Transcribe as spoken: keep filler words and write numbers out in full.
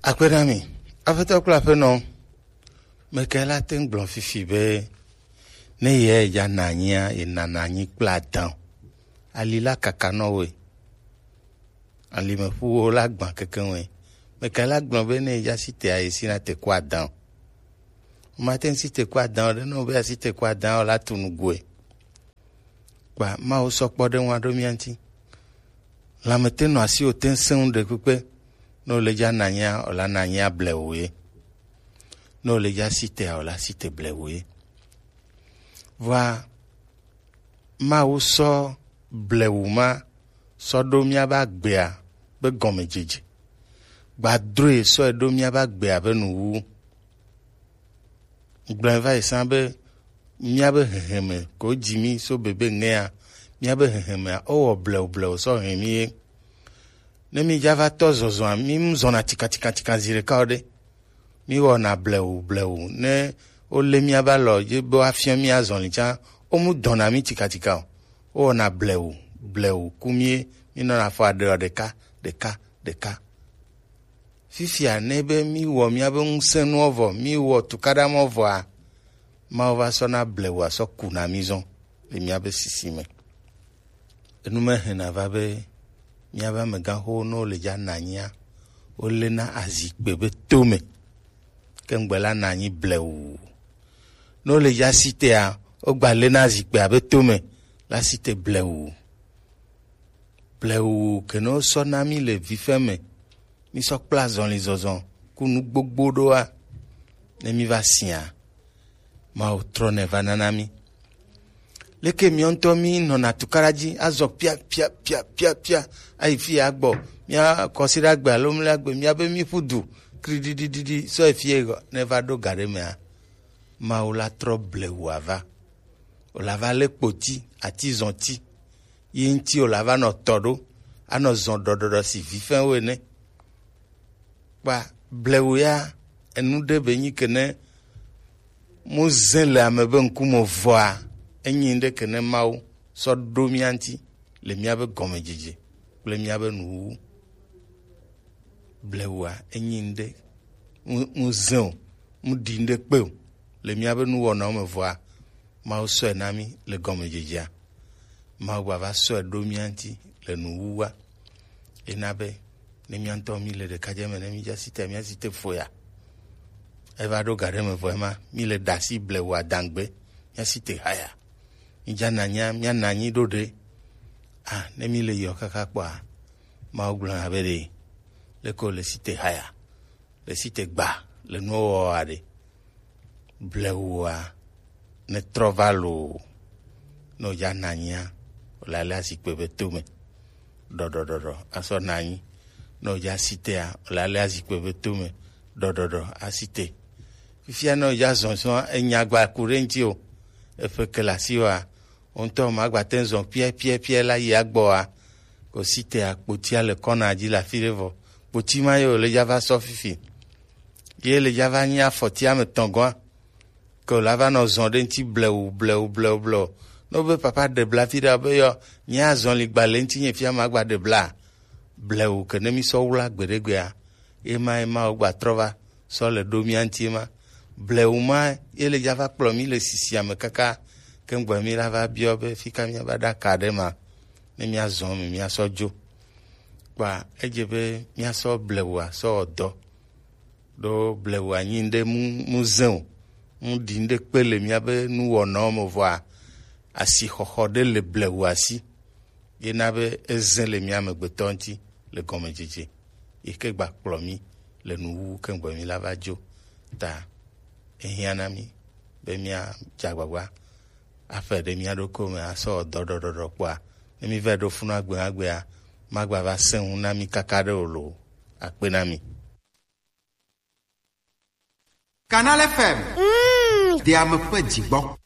Akpe na mi, aƒetɔ kple aƒenɔ, meke la te ŋu gblɔ fifi be ne ye ya na anyia, ye nana anyi kple adan. Ali la kaka nɔ woe. Alimeƒuwo la gbã kekeŋue. Meke la gblɔ be ne ye ya si tea, ye si na te ku adan. Mate ŋu si te ku adan o ɖe, ne wo be asi te ku adan o la tu nugoe. Kpa Mawu sɔ kpɔɖeŋua ɖo mía ŋuti. Lãme te nɔ asi o te ŋu sẽŋu ɖe kpekpe. Ne wòle dza nanyia, wòla nanyia blewu ye. Ne wòle dza si tea, wòla si te blewu ye. Vɔa Mawu sɔ blewu ma sɔ ɖo míabe agbea be gɔmedzedze. Gbadroe sɔ ɖo míabe agbea be nuwuwu. Gblɔe va yi sã be míabe heheme ko dzi mí so bebe ŋea, míabe hehemea wowɔ blewu blewu sɔ hɛn mí ye. Ne mí dza va tɔ zɔzɔa, mí mu zɔna tikatikatikatika zi ɖeka o ɖe. Mí wɔna blewu blewu. Ne wolé míabe alɔ dzi be woafiɔ mí azɔli tsã, wo mu dɔna mí tikatika o. Wo wɔna blewu blewu ku mí ye. Mí nɔna fɔ aɖeɔ ɖeka ɖeka ɖeka. Fifia ne be mí wɔ míabe ŋusẽnuwo vɔ, mí wɔ tukaɖa mɔ vɔa, Mawu va sɔ na blewu asɔ ku na mí zɔn le míabe sisi me. Enu me hɛna va be míabe amegãxowo ne wole dza na anyia, wolena azikpe be tome. Ke ŋgbe la na anyi blewu. Ne wole dza si tea, wogba lena azikpea be tome la si te blewu. Blewu ke ne wosɔ na mí le vifɛ me, mí sɔ kpla azɔli zɔzɔ ku nu gbogbo ɖoa, ne mí va sia, Mawu trɔnɛ va nana mí. Leke míawo ŋutɔ mí nɔna tukaɖa dzi azɔ pia pia pia pia pia ayi fi ya gbɔ, mía kɔsiɖa gbe alo mlɛ gbe mía be mí ƒu du kriɖiɖiɖiɖi sɔ yi fi ye gɔ ne va ɖo ga ɖe mea, Mawu la trɔ blewu ava. Wòla va lé kpoti, atizɔti, yi ŋuti wòla va nɔ tɔ ɖo, anɔ zɔn ɖɔɖɔɖɔ si vi fɛn wo ene. Kpa blewu ya, enu ɖe be nyi ke ne mu zẽ le ame be ŋkume vɔa, enyi ɖe ke ne Mawu sɔ ɖo mía ŋuti le míabe gɔmedzedze kple míabe nuwuwu. Blewua enyi ŋɖe ŋu-, ŋu zẽ o, ŋu ɖi ŋɖe kpe o le míabe nuwɔnawo me vɔa, Mawu sɔe na mí le gɔmedzedzea. Mawu gbava sɔe ɖo mía ŋuti le nuwuwua. Ena be ne mía ŋutɔ mí le ɖekadze me, ne mí dza si te, mía si te foya. Eva ɖo ga ɖe me vɔ ema, mí le ɖe asi blewua dangbe, mía si te haya. Mí dza na nya, mía na anyi ɖo ɖe. Ah, ne mí le yɔ kaka kpɔa, Mawu gblɔna be ɖe, leke wòle si te haya, le si te gba, le nuwo wɔa ɖe. Blewua, ne trɔ va loo, ne wòdza na anyia, wòle alea zikpui be tome. Ɖɔɖɔɖɔɖɔ, asɔ na anyi. Ne wòdza si tea, wòle alea zikpui be tome. Ɖɔɖɔɖɔ, asi te. Fifia ne wòdza zɔzɔa, enya gba ku ɖe ŋuti o. Eƒe ke le asiwòa, wo ŋutɔ magbate ŋu zɔ piɛpiɛpiɛ la yi agbɔa, ko si te akpotia le kɔna dzi le afi ɖe vɔ. Kpoti ma ye wòle dza va sɔ fifi. Ye le dza va nyi afɔti ame tɔ̃ gɔ̃a. Ke wòla va nɔ zɔ ɖe ŋuti blewu, blewu, blewu, blewu. Ne wobe papa ɖe bla fi ɖe be yɔ, nye azɔli gba le ŋuti nye fia magba ɖe bla. Blewu ke ne mi sɔ wla gbeɖegbea, ema, ema wogba trɔ va sɔ le ɖo mía ŋuti ema. Blewu ma ye le dza va kplɔ mí le sisia me kaka ke ŋgbe mí la va biɔ be fika mía va ɖa ka ɖe ma, ne mía zɔ me mía sɔ dzo. Kpa edze be mía sɔ blewua sɔ wɔ dɔ. Ɖo blewua nyi ŋɖe mu, mu zẽ o, mu ɖi ŋɖe kpe le mía be nuwɔnawo me vɔa, asixɔxɔ ɖe le blewua si. Ye na be ezẽ le mía amegbetɔ ŋuti le gɔmedzedze, yi ke gba kplɔ mí le nuwuwu ke ŋgbe mí la va dzo. Ta ehiã na mí be mía dze agbagba aƒe ɖe mía ɖokuiwo me asɔ wɔ dɔ ɖɔɖɔɖɔ kpɔa, ne mí va ɖo funu agbe agbea, magba va sẽ ŋu na mí kaka ɖe o loo. Akpe na mi. Canal F M. Mm. Ɖe ame ƒe dzigbɔ.